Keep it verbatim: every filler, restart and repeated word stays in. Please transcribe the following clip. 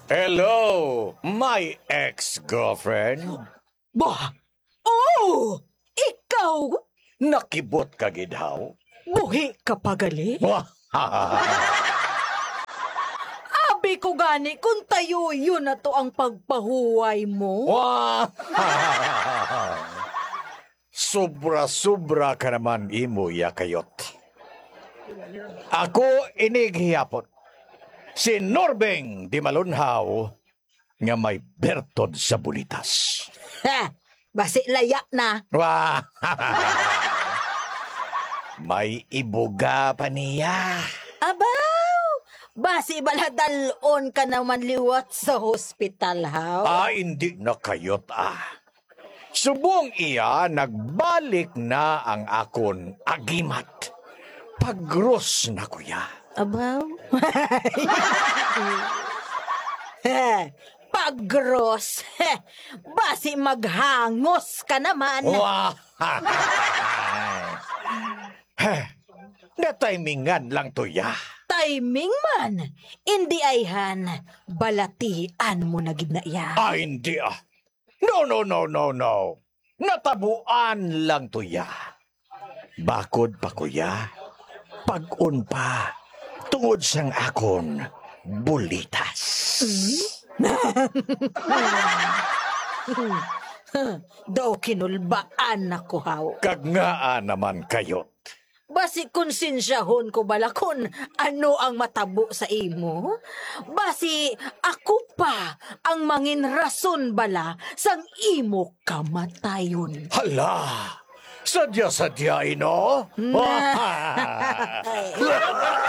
Hello, my ex-girlfriend. Bah! Oh! Ikaw! Nakibot ka gid, haw? Buhi ka pa gali? Wah! Abi ko gani kung tayuyon na to ang pagpahuway mo. Wah! Sobra-sobra ka naman imo, ya Kayot. Ako ini gihapon, si Norbeng Dimalunhaw, nga may bertod sa bulitas. Ha! Basi laya na. Wah! May ibuga pa niya. Abaw! Basi bala dal-on ka naman liwat sa hospital, haw? Ah, hindi na, Kayot, ah. Subong iya, nagbalik na ang akon agimat. Pagros na ko ya. Abaw? Pagros? Basi maghangos ka naman. Wah! Natimingan lang to ya. Timing man. Indi ayhan, balatian mo na gid na iya. Ah, hindi, ah. No, no, no, no, no. Natabuan lang to ya. Bakod pa ko ya, pag-on pa tungod sang akon bulitas. Daw kinulbaan ako, haw. Kag ngaa naman, Kayot? Basi konsensyahon ko bala kon ano ang matabo sa imo? Basi ako pa ang mangin rason bala sang imo kamatayon. Hala! Sadya-sadya, ino?